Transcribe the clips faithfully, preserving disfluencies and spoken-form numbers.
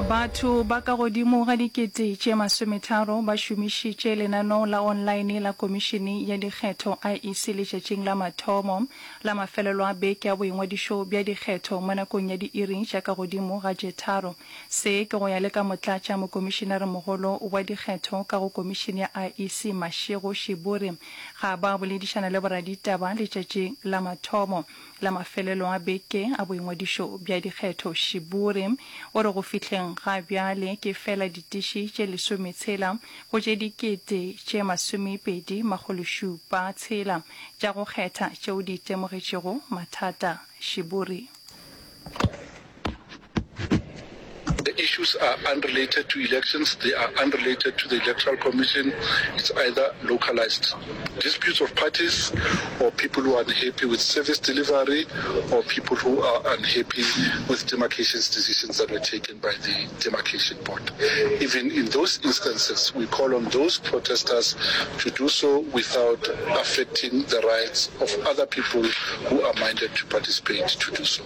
Batho ba ka godimo ga dikete tše masometharo ba šomišitše lenaneo la onlaene la Komišene ya Dikgetho, I E C, letšatšing la mathomo la mafelelo a beke a boingwadišo bja dikgetho mo nakong ya diiri tša ka godimo ga tše tharo. Se ke go ya le ka Motlatša Mokomišenaremogolo wa Dikgetho ka go Komišene ya I E C Mashego Shiburi ga ba boledišana le boraditaba letšatšing la mathomo la mafelelo a beke a boingwadišo bja dikgetho. Shiburi o re go fihleng ga bjale ke fela ditiši tše lesometshela go tše dikete tše masomepedi makgološupa tshela tša go kgetha tšeo di itemogetšego mathata. Shiburi. The issues are unrelated to elections, they are unrelated to the Electoral Commission. It's either localized disputes of parties or people who are unhappy with service delivery or people who are unhappy with demarcations decisions that were taken by the demarcation board. Even in those instances, we call on those protesters to do so without affecting the rights of other people who are minded to participate to do so.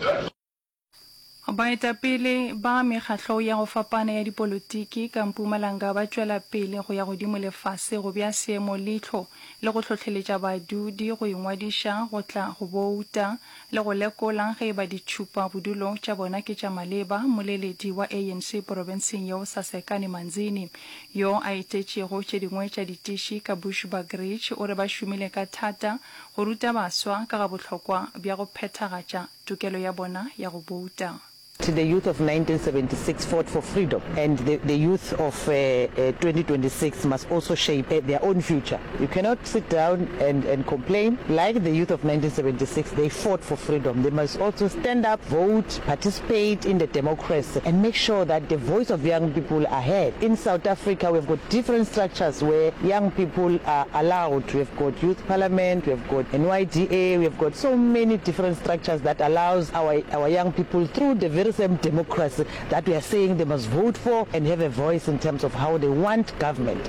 Baetapele ba mekgatlo ya go fapana ya dipolotiki ka Mpumalanga ba tšwela pele go ya godimo le fase go bea seemo leihlo le go hlohleletša badudi go ingwadiša go tla go bouta le go lekola ge e ba ditšhupa bodulo tša bona ke tša maleba. Mmoleledi wa A N C porofenseng yeo Sasekani Manzini yo a etetšego tše dingwe tša ditiši ka Bushbuckridge o re ba šomile ka thata go ruta baswa ka ga bohlokwa bja go phethagatša tokelo ya bona ya go bouta. The youth of nineteen seventy-six fought for freedom, and the, the youth of uh, uh, twenty twenty-six must also shape uh, their own future. You cannot sit down and, and complain. Like the youth of nineteen seventy-six, they fought for freedom. They must also stand up, vote, participate in the democracy, and make sure that the voice of young people are heard. In South Africa, we've got different structures where young people are allowed. We've got youth parliament, we've got N Y D A, we've got so many different structures that allows our, our young people through the very same democracy that we are saying they must vote for and have a voice in terms of how they want government.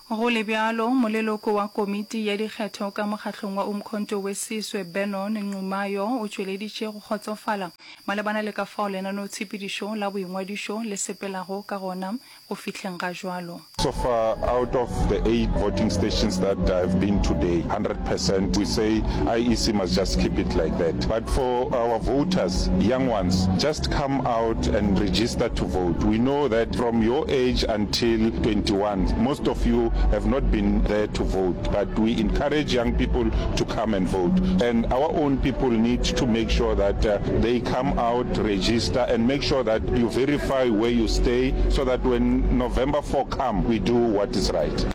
Go le bjalo, moleloko wa komiti ya dikgetho ka mokgahlong wa Umkhonto we Sizwe Benon Nxumalo o tšweleditše go kgotsofala malebana le ka fao lenaneotshepedišo la boingwadišo le sepelago ka gona go fihleng ga jwalo. So far, out of the eight voting stations that I've been today, one hundred percent, we say I E C must just keep it like that. But for our voters, young ones, just come out and register to vote. We know that from your age until twenty-one, most of you have not been there to vote. But we encourage young people to come and vote. And our own people need to make sure that uh, they come out, register, and make sure that you verify where you stay so that when November four come, we do what is right.